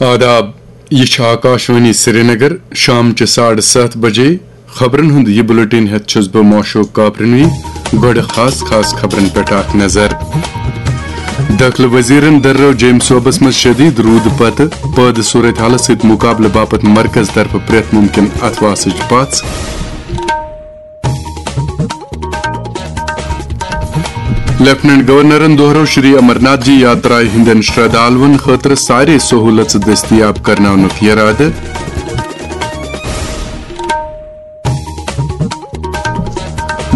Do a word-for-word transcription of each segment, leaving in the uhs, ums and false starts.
آداب، یہِ چھِ آکاشوانی سرینگر۔ شامچہِ ساڑٕ ستھ بجے خبرن ہُنٛد یہِ بُلٹن ہٮ۪تھ چھُس بہٕ موشوق کاپرنوی۔ گۄڈٕ خاص خاص خبرن پٮ۪ٹھ اکھ نظر۔ دٲخلہٕ وزیرن دررٲو جیٚمۍ صوبس منٛز شدید روٗدٕ پتہٕ پٲدٕ صورتحالس سۭتۍ مُقابلہٕ باپتھ مرکز طرفہٕ پرٛٮ۪تھ مُمکِن اتھواسٕچ پژھ۔ لیفٹیننٹ گورنرن دوہرٲو شری امرناتھ جی یاترایہِ ہٕنٛدٮ۪ن شردھالوَن خٲطرٕ سارے سہوٗلژٕ دٔستیاب کرناونُک یرادٕ۔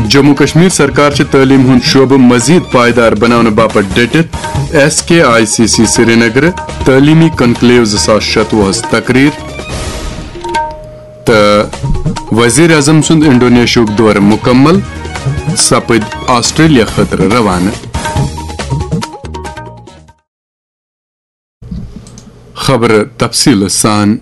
جموں کشمیر سرکار چھِ تعلیٖم ہُنٛد شعبہٕ مزید پائیدار بناونہٕ باپتھ ڈٔٹِتھ۔ S K I C C Srinagar تعلیمی کنکلیو زٕ ساس شتوُہس تقریر۔ تہٕ وزیر اعظم سُنٛد انڈونیشیاہُک دورٕ مُکمل، سپٕدۍ آسٹریلیا خٲطرٕ روانہٕ۔ خبرٕ تفصیٖلہٕ سان۔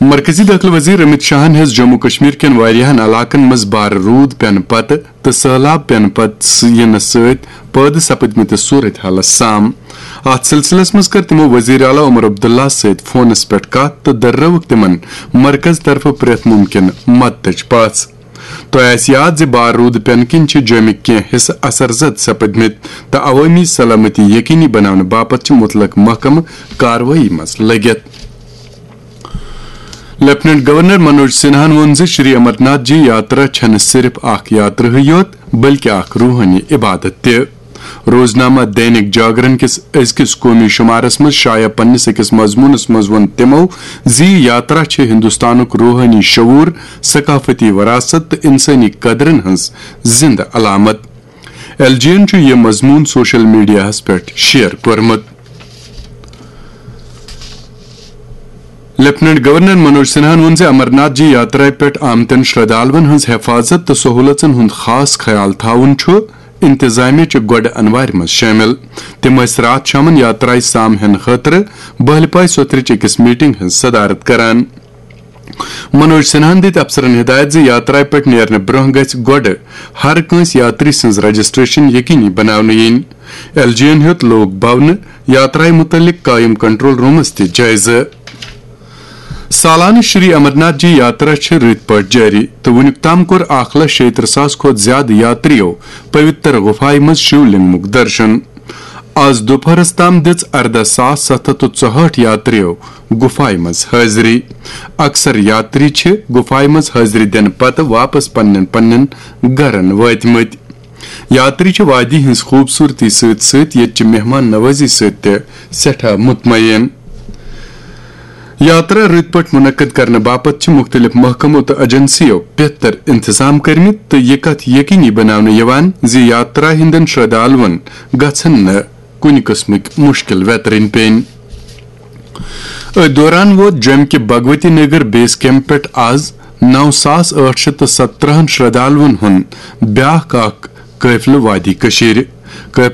مرکزی دٲخلہٕ وزیر امت شاہن ہیٚژ جموں کشمیر کٮ۪ن واریاہن علاقن منٛز بارٕ روٗد پٮ۪نہٕ پتہٕ تہٕ سٔہلاب پٮ۪نہٕ پتہٕ س-، یِنہٕ سۭتۍ پٲدٕ سپدمٕتِس صورتحالس سام۔ اتھ سلسلس منٛز کٔر تِمو وزیر اعلیٰ عمر عبداللہ سۭتۍ فونس پٮ۪ٹھ کتھ تہٕ دررٲوٕکھ تِمن مرکز طرفہٕ پرٛٮ۪تھ مُمکِن مدتٕچ پژھ۔ تۄہہِ آسہِ یاد زِ بارٕ روٗدٕ پٮ۪نہٕ کِنۍ چھِ جوٚمِکۍ کینٛہہ حصہٕ اثر زد سپدمٕتۍ تہٕ عوٲمی سلامتی یقینی بناونہٕ باپتھ چھِ مُتلق محکمہٕ کاروٲیی منٛز لٔگِتھ۔ لیفٹیننٹ گورنر منوج سنہاہن ووٚن زِ شری امرناتھ جی یاترا چھنہٕ صرف اکھ یاترا ہٕے یوت، بلکہ اکھ روحٲنی عبادت تہِ۔ روزنامہ دینک جاگرن کِس أزکِس قومی شمارس منٛز شایع پننِس أکِس مضموٗنس منٛز ووٚن تِمو زِ یہِ یاترا چھِ ہندوستانُک روحٲنی شعور، ثقافتی وراثت تہٕ انسٲنی قدرن ہٕنٛز زندٕ علامت۔ ایل جی یَن چھُ یہِ مضموٗن سوشل میڈیاہَس پٮ۪ٹھ شیئر کوٚرمُت۔ لیفٹیننٹ گورنر منوج سنہاہن ووٚن زِ امرناتھ جی یاترایہِ پٮ۪ٹھ آمتٮ۪ن شردھالوَن ہٕنٛز حفاظت تہٕ سہوٗلژن ہُنٛد خاص خیال تھاوُن چھُ انتظامیہ چہِ گۄڈٕ انوارِ منٛز شٲمِل۔ تِم ٲسۍ راتھ شامن یاترایہِ سام ہٮ۪نہٕ خٲطرٕ بہلپاے سوتھرٕچ أکِس میٹنگ ہٕنٛز صدارت کران۔ منوج سنہاہن دِتۍ افسرن ہدایت زِ یاترایہِ پٮ۪ٹھ نیرنہٕ برونٛہہ گژھِ گۄڈٕ ہر کٲنٛسہِ یاتری سٕنٛز رجسٹریشن یقینی بناونہٕ یِنۍ۔ ایل جی یَن ہیوٚت لوک بھونہٕ یاترایہِ مُتعلق قٲیِم کنٹرول رومس تہِ جٲیزٕ۔ سالانہٕ شری امرناتھ جی یاترا چھِ رٕتۍ پٲٹھۍ جٲری تہٕ وُنیُک تام کوٚر اکھ لچھ شیٚیہِ ترٕٛہ ساس کھۄتہٕ زِیٛادٕ یاترِیو پویتر غفایہِ منٛز شیو لنگمُک درشن۔ آز دُپہرس تام دِژ ارداہ ساس ستھ ہتھ تہٕ ژُہٲٹھ یاترِیو غفایہِ منٛز حٲضری۔ اکثر یاتری چھِ غفایہِ منٛز حٲضری دِنہٕ پتہٕ واپس پننٮ۪ن پننٮ۪ن گرن وٲتمٕتۍ۔ یاتری چھِ وادی ہٕنٛز خوٗبصوٗرتی سۭتۍ سۭتۍ ییٚتہِ چہِ مہمان نوٲزی سۭتۍ تہِ سٮ۪ٹھاہ مطمئن۔ یاترا رٕتۍ پٲٹھۍ منعقد کرنہٕ باپتھ چھِ مُختٔلِف محکمو تہٕ ایجنسیو بہتر انتظام کٔرمٕتۍ تہٕ یہِ کتھ یقینی بناونہٕ یِوان زِ یاترا ہٕنٛدٮ۪ن شردھالوَن گژھن نہٕ کُنہِ قٕسمٕکۍ مُشکِل ویترٕنۍ پیٚنۍ۔ أتھۍ دوران ووت جوٚمہِ کہِ بھگوتی نگر بیس کیمپ پٮ۪ٹھ آز نو ساس ٲٹھ شیٚتھ تہٕ ستترہن شردھالوَن ہُنٛد بیٛاکھ اکھ قٲفلہٕ وادی کٔشیٖرِ۔ قٲفلہٕ